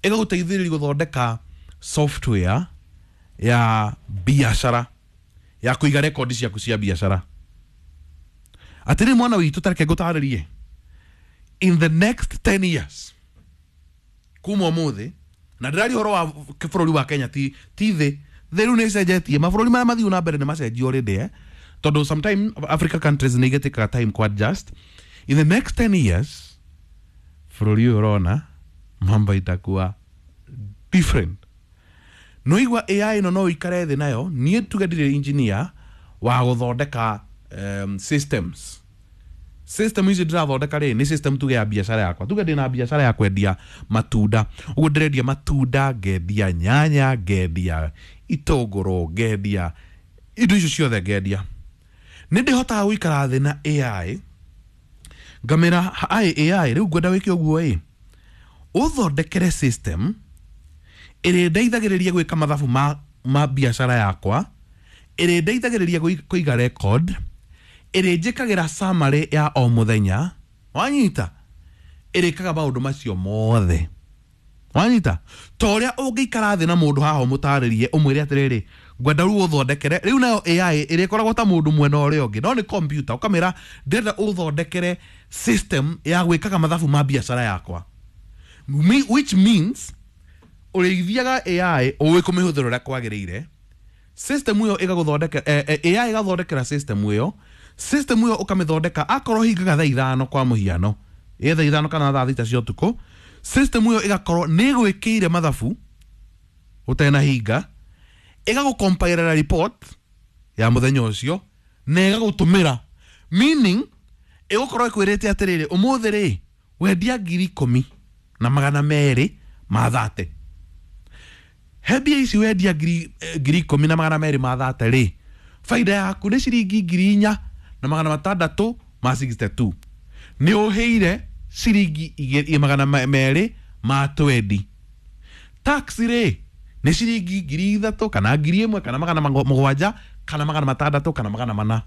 Ĩgagũteithĩrĩria gũthondeka software ya biacara ya kũiga rekondi ciaku cia biacara. Atĩrĩ, mwana witũ, tareke ngũtarĩrie, in the next 10 years kuma ũmũthĩ, na ndĩraria ũhoro wa bũrũri wa Kenya, ti thĩ. Thĩ rĩu nĩ ĩcenjetie, mabũrũri marĩa mathiu na mbere nĩ macenjio already, eh? Tondũ sometime Africa countries nĩ igĩtĩkaga time ku adjust. In the next 10 years, bũrũri ũyũ ũrona mambo itakuwa different. No igua AI ĩno no ũikare thĩ nayo. Niĩ tuge ndirĩ engineer wa gũthondeka systems. System ici ndĩrathondeka rĩ, nĩ system tuge ya biacara yakwa. Tuge ndĩna biacara ya kwendia matunda, ũguo ndĩrendia matunda, ngendia nyanya, ngendia itũngũrũ, ngendia indo icio ciothe ngendia. Nĩ ndĩhotaga gũikara thĩ na AI, ngamĩra ai AI, rĩu ngwenda wĩke ũguo ĩ, ũthondekere system ĩrĩa ndeithagĩrĩria gwĩka mathabu ma biacara yakwa, ĩrĩa ndeithagĩrĩria kũiga record, ĩrĩa njĩkagĩra summary ya o mũthenya, wanyita, ĩrĩkaga maũndũ macio mothe, wanyita, ta ũrĩa ũngĩikara thĩ na mũndũ haha ũmũtarĩrie, ũmwĩre atĩrĩrĩ, ngwenda rĩu ũthondekere. Rĩu nayo AI ĩrĩkoragwo ta mũndũ mwena ũrĩa ũngĩ, no nĩ computer. Ũkamĩra, ndĩrenda ũthondekere system ya gwĩkaga mathabu ma biacara yakwa. Which means ũrĩithiaga AI ũĩ kũmĩhũthĩra ũrĩa kwagĩrĩire, system ĩyo ĩgagũthondekera, AI ĩgathondekera system ĩyo. System ĩyo ũkamĩthondeka, akorwo hingaga thaa 5 kwa mũhiano, ĩ thaa 5 kana thaa 6 cia ũtukũ, system ĩyo ĩgakorwo nĩ ĩgwĩkĩire mathabu ũtenahinga, ĩgagũcompilera report ya mũthenya ũcio na ĩgagũtũmĩra, meaning ĩgũkorwo ĩkwĩrĩte atĩrĩrĩ, ũmũthĩ rĩ, wendia 10,230. He mbia ici wendia 10,230 rĩ, baida yaku nĩ ciringi 4662. Nĩ ũhĩire ciringi 220. Tax rĩ, nĩ ciringi 3000 kana 1000 kana 700 kana 600 kana 400.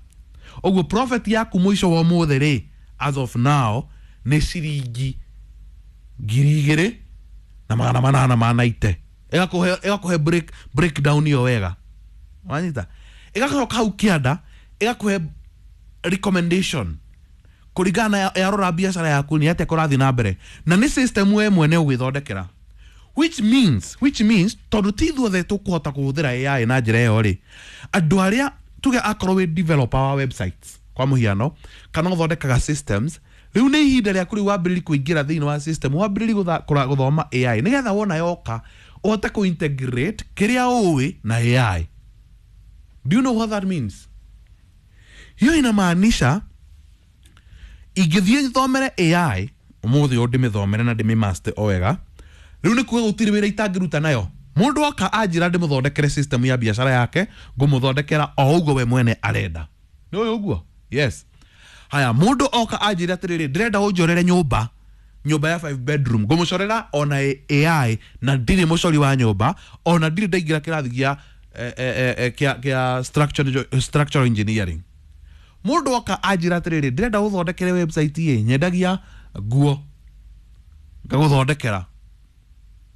Ũguo profit yaku mũico wa ũmũthĩ rĩ, as of now, nĩ ciringi 2890. Ĩgakũhe breakdown ĩyo wega, wanyita. Ĩgacoka hau kĩanda ĩgakũhe recommendation kũringana na yarora biacara yaku nĩ atĩa kũrathiĩ na mbere, na nĩ system we mwene ũgwĩthondekera, which means tondũ ti ithuothe tũkũhota kũhũthĩra AI na njĩra ĩyo rĩ, andũ arĩa tuge akorwo wĩ developer wa websites kwa mũhiano, kana ũthondekaga systems, rĩu nĩ ihinda rĩaku rĩu wambĩrĩri kũingĩra thĩinĩ wa system, wambĩrĩri gũthoma AI, nĩgetha wona yoka ũhote kũ-integrate kĩrĩa ũĩ na AI. Do you know what that means? Hiyo inamaanisha ingĩthiĩ thomere AI ũmũthĩ ũyũ, ndĩmĩthomere na ndĩmĩmaster o wega, rĩu nĩ kuga gũtirĩ wĩra itangĩruta nayo. Mũndũ oka anjĩra ndĩmũthondekere system ya biacara yake, ngũmũthondekera o ũguo we mwene arenda. Nĩ ũyũ ũguo, yes. Haya, mũndũ oka anjĩra atĩrĩrĩ, ndĩrenda ũnjorere nyũmba, nyũmba ya 5 bedroom, ngũmũcorera ona AI, na ndirĩ mũcori wa nyũmba, ona ndirĩ ndaingĩra kĩrathi gĩa kĩa structural engineering. Mũndũ oka anjĩra atĩrĩrĩ, ndĩrenda ũthondekere website ĩ, nyendagia nguo, ngagũthondekera.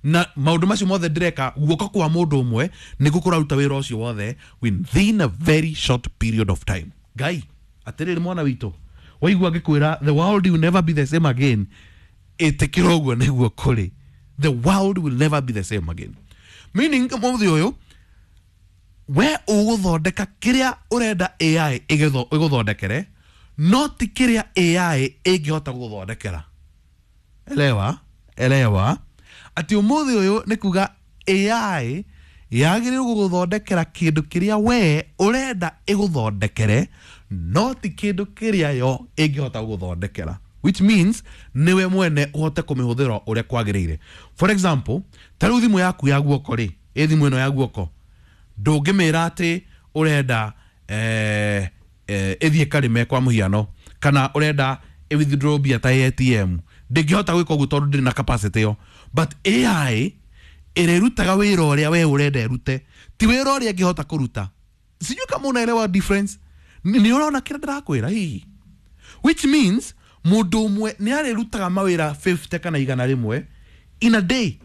Na maũndũ macio mothe ndĩreka, guoko kwa mũndũ ũmwe nĩguo kũraruta wĩra ũcio wothe within a very short period of time. Ngai, atĩrĩrĩ, mwana witũ, waigua ngĩkwĩra the world will never be the same again, ĩtĩkĩra ũguo nĩguo kũrĩ. The world will never be the same again, meaning mũthĩ ũyũ we ũgũthondeka kĩrĩa ũrenda AI ĩgũthondekere, no ti kĩrĩa AI ĩngĩhota gũgũthondekera. Elewa, elewa atĩ ũmũthĩ ũyũ nĩ kuga AI yagĩrĩirwo gũgũthondekera kĩndũ kĩrĩa we ũrenda ĩgũthondekere, no ti kĩndũ kĩrĩa yo ĩngĩhota gũgũthondekera, which means nĩwe mwene ũhote kũmĩhũthĩra ũrĩa kwagĩrĩire. For example, ta rĩu thimũ yaku ya guoko rĩ, ĩ thimũ ĩno ya guoko, ndũngĩmĩra atĩ ũrenda ĩthiĩ karĩme kwa mũhiano, kana ũrenda ĩ withdraw mbia ta ATM. Ndĩngĩhota gwĩka ũguo tondũ ndĩrĩ na capacity ĩyo. But AI ĩrĩrutaga wĩra ũrĩa we ũrenda ĩrute, ti wĩra ũrĩa ĩngĩhota kũruta. Sijui kama unaelewa difference. Nĩ ũrona kĩrĩa ndĩrakwĩra hihi? Which means mũndũ ũmwe nĩ arĩrutaga mawĩra 50 kana 100 in a day.